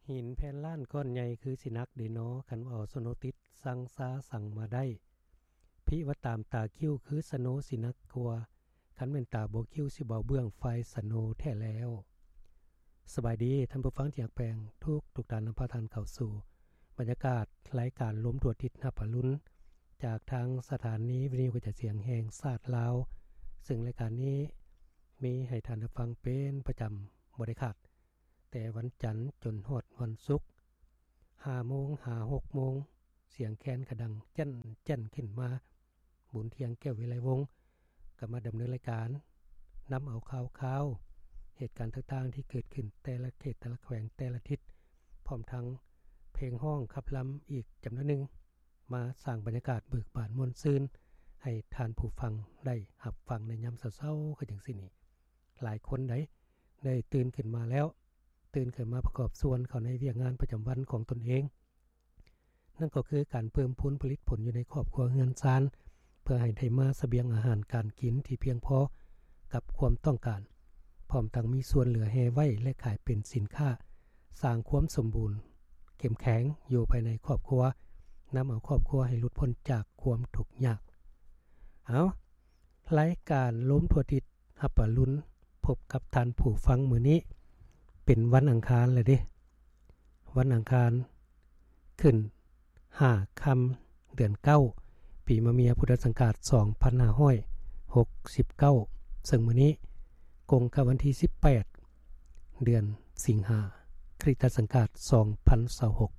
ຫີນແຜ່ນລ້ານກ້ອນໃຫຍ່ຄືຊິໜັກເດນໍ ຄັນວ່າເອົາສະໂນຕິດ ສັ່ງຊາສັ່ງມາໄດ້ ພິວ່າຕາມຕາຄິ້ວຄືສະໂນຊິໜັກກວ່າ ຄັນແມ່ນຕາບໍ່ຄິ້ວຊິເບົາເບື້ອງໄຟສະໂນແທ້ແລ້ວ. ສະບາຍດີທ່ານຜູ້ຟັງທີ່ຮັກແພງ ທຸກໆທ່ານ ນຳພາທ່ານເຂົ້າສູ່ບັນຍາກາດລາຍການລົມທົ່ວທິດຮັບອະລຸນ ຈາກທາງສະຖານີວິທະຍຸກະຈາຍສຽງແຫ່ງຊາດລາວ ເຊິ່ງລາຍການນີ້ມີໃຫ້ທ່ານໄດ້ຟັງເປັນປະຈຳບໍ່ໄດ້ຂາດ ແຕ່ວັນຈັນຈົນຮອດວັນສຸກ ຫ້າໂມງຫາຫົກໂມງ ສຽງແຄນກະດັງແຈ້ນໆຂຶ້ນມາ. ບຸນທ່ຽງ ແກ້ວວິໄລວົງ ກໍມາດຳເນີນລາຍການ ນຳເອົາຂ່າວຄາວ ເຫດການຕ່າງໆທີ່ເກີດຂຶ້ນແຕ່ລະເຂດ ແຕ່ລະແຂວງ ແຕ່ລະທິດ ພ້ອມທັງເພງຮ້ອງຂັບລຳອີກຈຳນວນໜຶ່ງ ມາສ້າງບັນຍາກາດເບີກບານມ່ວນຊື່ນ ໃຫ້ທ່ານຜູ້ຟັງໄດ້ຮັບຟັງໃນຍາມເຊົ້າໆ ຄືຈັ່ງຊີ້ນີ້. ຫຼາຍຄົນໃດ ໄດ້ຕື່ນຂຶ້ນມາແລ້ວ ຕື່ນຂຶ້ນມາປະກອບສ່ວນເຂົ້າໃນວຽກງານປະຈຳວັນຂອງຕົນເອງ ນັ້ນກໍຄືການເພີ່ມພູນຜະລິດຜົນຢູ່ໃນຄອບຄົວເຮືອນຊານ ເພື່ອໃຫ້ໄດ້ມາສະບຽງອາຫານການກິນທີ່ພຽງພໍກັບຄວາມຕ້ອງການ, ພ້ອມທັງມີສ່ວນເຫຼືອແຮ່ໄວ້ ແລະ ຂາຍເປັນສິນຄ້າ, ສ້າງຄວາມສົມບູນເຂັ້ມແຂງຢູ່ພາຍໃນຄອບຄົວ, ນຳເອົາຄອບຄົວໃຫ້ຫຼຸດພົ້ນຈາກຄວາມທຸກຍາກ. ເອົາ, ລາຍການລົມທົ່ວທິດຮັບອະລຸນ ພົບກັບທ່ານຜູ້ຟັງມື້ນີ້ ເປັນວັນອັງຄານແລ້ວເດ້. ວັນອັງຄານ ຂຶ້ນຫ້າຄ່ຳເດືອນເກົ້າ ປີມະເມຍ ພຸດທະສັກກະລາດສອງພັນຫ້າຮ້ອຍຫົກສິບເກົ້າ ເຊິ່ງມື້ນີ້ກົງກັບວັນທີສິບແປດ ເດືອນສິງຫາ ຄຣິສຕະສັກກະລາດສອງພັນຊາວຫົກ.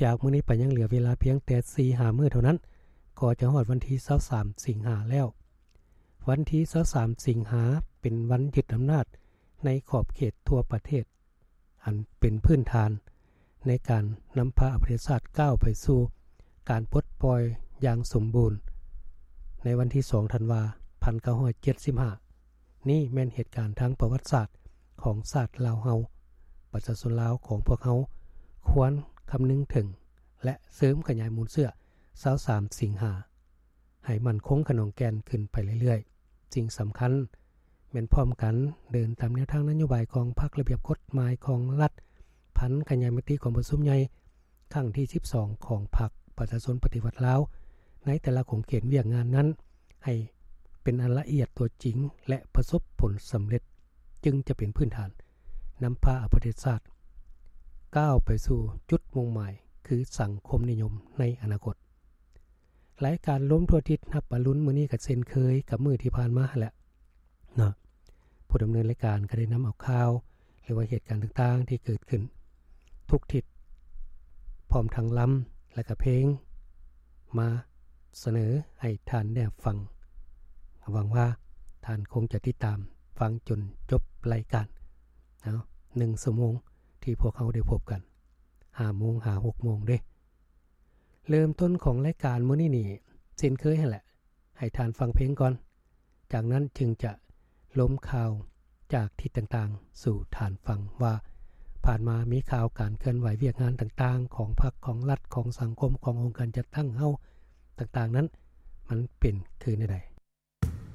ຈາກມື້ນີ້ໄປຍັງເຫຼືອເວລາພຽງແຕ່ສີ່ຫ້າມື້ເທົ່ານັ້ນ ກໍຈະຮອດວັນທີຊາວສາມສິງຫາແລ້ວ. ວັນທີຊາວສາມສິງຫາ ເປັນວັນຍຶດອຳນາດໃນຂອບເຂດທົ່ວປະເທດ ອັນເປັນພື້ນຖານໃນການນຳພາປະເທດຊາດກ້າວໄປສູ່ການປົດປ່ອຍຢ່າງສົມບູນ ໃນວັນທີສອງທັນວາ ພັນເກົ້າຮ້ອຍເຈັດສິບຫ້າ ນີ້ແມ່ນເຫດການທາງປະຫວັດສາດຂອງຊາດລາວເຮົາ. ປະຊາຊົນລາວຂອງພວກເຮົາຄວນຄຳນຶງເຖິງ ແລະ ເສີມຂະຫຍາຍມູນເຊື້ອຊາວສາມສິງຫາ ໃຫ້ໝັ້ນຄົງຂະໜອງແກ່ນຂຶ້ນໄປເລື້ອຍໆ. ສິ່ງສຳຄັນແມ່ນພ້ອມກັນເດີນຕາມແນວທາງນະໂຍບາຍຂອງພັກ, ລະບຽບກົດໝາຍຂອງລັດ, ຜັນຂະຫຍາຍມະຕິກອງປະຊຸມໃຫຍ່ຄັ້ງທີສິບສອງຂອງພັກປະຊາຊົນປະຕິວັດລາວ ໃນແຕ່ລະຂົງເຂດວຽກງານນັ້ນ ໃຫ້ເປັນອັນລະອຽດຕົວຈິງ ແລະ ປະສົບຜົນສຳເລັດ ຈຶ່ງຈະເປັນພື້ນຖານນຳພາປະເທດຊາດກ້າວໄປສູ່ຈຸດມຸ່ງໝາຍ ຄືສັງຄົມນິຍົມໃນອະນາຄົດ. ລາຍການລົມທົ່ວທິດຮັບອະລຸນມື້ນີ້ກໍເຊັ່ນເຄີຍກັບມື້ທີ່ຜ່ານມາຫັ້ນແຫຼະເນາະ. ຜູ້ດຳເນີນລາຍການກໍໄດ້ນຳເອົາຂ່າວ ຫຼືວ່າເຫດການຕ່າງໆທີ່ເກີດຂຶ້ນທຸກທິດ ພ້ອມທັງລຳ ແລະກະເພງ ມາສະເໜີໃຫ້ທ່ານໄດ້ຮັບຟັງ. ຫວັງວ່າທ່ານຄົງຈະຕິດຕາມຟັງຈົນຈົບລາຍການ. ເອົາ ໜຶ່ງຊົ່ວໂມງທີ່ພວກເຮົາໄດ້ພົບກັນ ຫ້າໂມງຫາຫົກໂມງເດ້. ເລີ່ມຕົ້ນຂອງລາຍການມື້ນີ້ນີ້ ເຊັ່ນເຄີຍຫັ້ນແຫຼະ ໃຫ້ທ່ານຟັງເພງກ່ອນ, ຈາກນັ້ນຈຶ່ງຈະລົມຂ່າວຈາກທິດຕ່າງໆສູ່ທ່ານຟັງວ່າ ຜ່ານມາມີຂ່າວການເຄື່ອນໄຫວວຽກງານຕ່າງໆຂອງພັກ, ຂອງລັດ, ຂອງສັງຄົມ, ຂອງອົງການຈັດຕັ້ງເຮົາຕ່າງໆນັ້ນ ມັນເປັນຄືແນວໃດ.